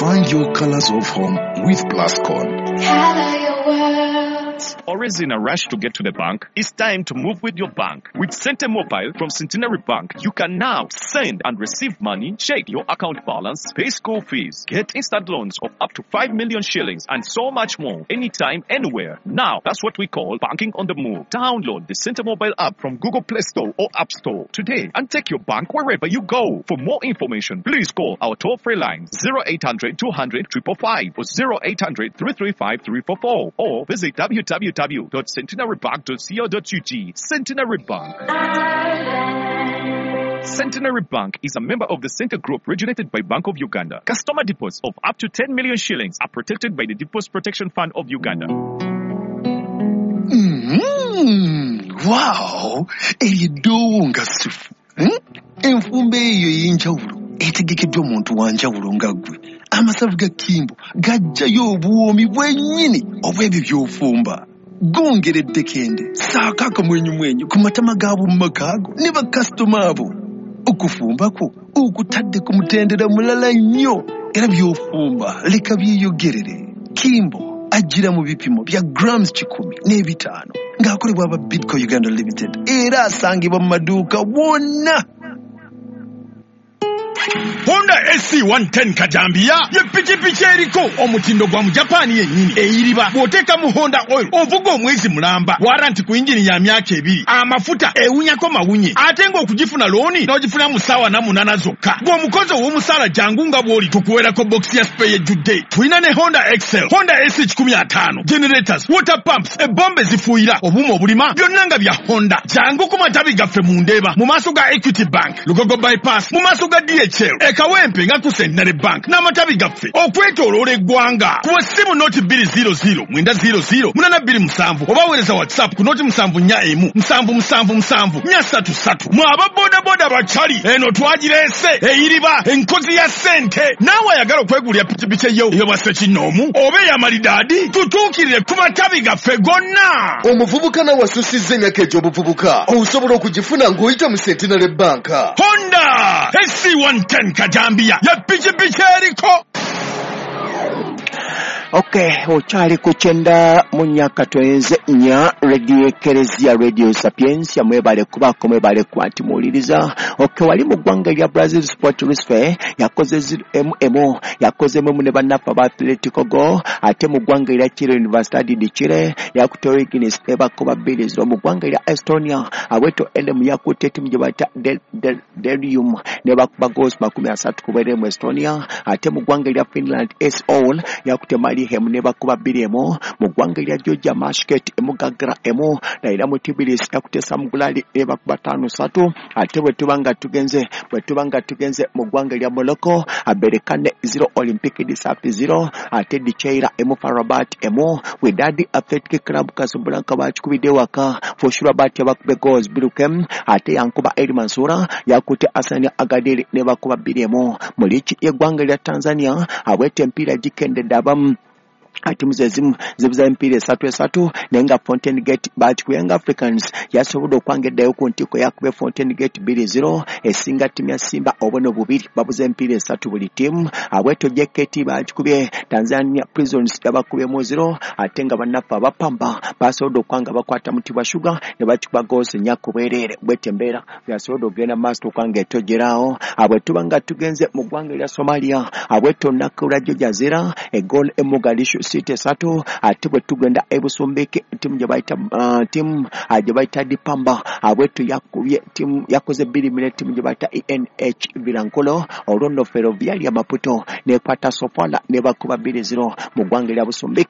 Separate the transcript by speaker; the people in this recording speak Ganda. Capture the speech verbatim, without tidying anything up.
Speaker 1: Find your colors of home with Plascon.
Speaker 2: Color your world.
Speaker 3: Always in a rush to get to the bank? It's time to move with your bank. With Sente Mobile from Centenary Bank, you can now send and receive money, check your account balance, pay school fees, get instant loans of up to five million shillings, and so much more, anytime, anywhere. Now, that's what we call banking on the move. Download the Sente Mobile app from Google Play Store or App Store today and take your bank wherever you go. For more information, please call our toll-free line zero eight hundred two hundred five five five or zero eight hundred three three five three four four or visit w w w dot centenary bank dot co dot u g. Centenary Bank. Centenary Bank is a member of the Center Group regulated by Bank of Uganda. Customer deposits of up to ten million shillings are protected by the Deposit Protection Fund of Uganda.
Speaker 4: Mm-hmm. Wow! Eryedoowo nga ssufu. Hmm? Enfumba eyo ey'enjawulo etegekeddwa omuntu wa njawulo nga ggwe. Amasavu ga Kimbo gajjayo obuwoomi bwennyini obw'ebyo by'ofumba. Gongera eddekende, ssaako akamwenyumwenyu ku matama g'ab'omu maka go ne bakasitoma abo. Okufumba kwo okutadde ku mutendera mulala nnyo, era by'ofumba leka byeyogerere. Kimbo ajjira mu bipimo bya grams kikumi n'ebitaano ng'akolebwa aba Bidco Uganda Limited, era asangibwa mu maduuka wonna.
Speaker 5: Honda S C one ten Kajambiya ye pikipiki eriko omutindo gwa mu Japan yennyini eyiriba. Bw'oteeka mu Honda oil ovuga omwezi mulamba, waranti ku yingini ya myaka ebiri, amafuta ewunyako mawunye, ate ng'okugifuna looni n'ogifuna mu ssaawa na munaana zokka. Bw'omukozi ow'omusaala jangu nga bw'oli tukuweerako bokisi ya spare ejjudde. Tulina ne Honda Excel, Honda S C kikumi ataano, generators, water pumps, ebombe zifuuyira, obuuma obulima, byonna nga bya Honda. Jangu ku matabi gaffe mu Ndeeba, mu maaso ga Equity Bank, Lugogo Bypass, mu maaso ga D H L, e Kawempe nga ku Centenary Bank n'amatabi gaffe okwetooloola eggwanga. Kuba ssimu noti bbiri zero zero mwenda zero zero munaana bbiri musanvu oba weereza WhatsApp ku noti musanvu nnya emu musanvu musanvu musanvu nnya ssatu ssatu. Mwe aba bodaboda bakyali eno twagireese eyiriba enkozi ya ssente. Naawe ayagala okwegulira pikipiki eyo ey'obwa ssekinnoomu oba ey'amalidaadi, tutuukirire ku matabi gaffe gonna.
Speaker 6: Omuvubuka nawe asusizza emyaka egy'obuvubuka osobola okugifuna ng'oyita mu Centenary Bank.
Speaker 5: Honda S C one ten Kajambiya ya pikipiki eriko.
Speaker 7: Okay, okyali ku kyenda mu myaka twenze nnya Radio Ekereziya, Radio Sapientia, mwebale kubaako, mwebale kuba nti muwuliriza. Okay, wali mu ggwanga erya Brazil Sport Recife yakoze zero M M, yakoze emu ne bannaffe aba Atletico Go, ate mu ggwanga erya Chile Universidad de Chile yakutte Origins ebakuba bbiri zero. Mu ggwanga erya Estonia Aweto L M yakutte ttiimu gye bayita Delium ne bakuba goals makumi asatu ku bwereere mu Estonia, ate mu ggwanga erya Finland S All yakutte Mali Hemu ne bakuba bbiri emu. Mu ggwanga erya Georgia Mashket emu Gagra emu, na era mu Tbilisi yakutte Samgulali ne bakuba ttaano ssatu. Ate bwe tuba nga tugenze bwe tuba nga tugenze mu ggwanga erya Morocco Aberekane zero Olympic de Safi zero, ate Dicheira emu Farabat emu. Wydad Athletic Club Casablanca bakikubidde waka Foshurabat yabakubye goals bbiri kem, ate Yankuba El Mansura yakutte Asani Agadir ne bakuba bbiri emu. Mu liigi y'eggwanga erya Tanzania abwete empiira gikendedde abamu atimu ezimu zibuza emipiira esatu esatu, naye nga Fountain Gate bakikuye Young Africans yasobodde okwanga eddayo ku ntikko yakubye Fountain Gate bbiri zero esinga ttiimu ya Simba obuno bubiri, babuze emipiira esatu buli ttiimu. Abweto J K T bakikubye Tanzania Prisons yabakubyemu zero, ate nga bannaffe abapamba basobodde okwanga bakwata Mutibwa Sugar ne bakikuba goals nnya ku bwereere. Bwete embeera yasobodde okugenda mu maaso okwanga etogeraawo. Abwe tuba nga tugenze mu ggwanga erya Somalia, abweto olunaku lwa Jazeera egoal e Mogadishu City esatu, ate bwe tugenda e Busumbiki ttiimu gye bayita uh, ttiimu gye bayita Dipamba abwetu yakubye ttiimu yakoze bbiri mu ttiimu gye bayita E N H Vilankulo, olwo nno Ferroviaria Maputo nekwata Sofala ne bakuba bbiri zero mu ggwanga erya Busumbiki.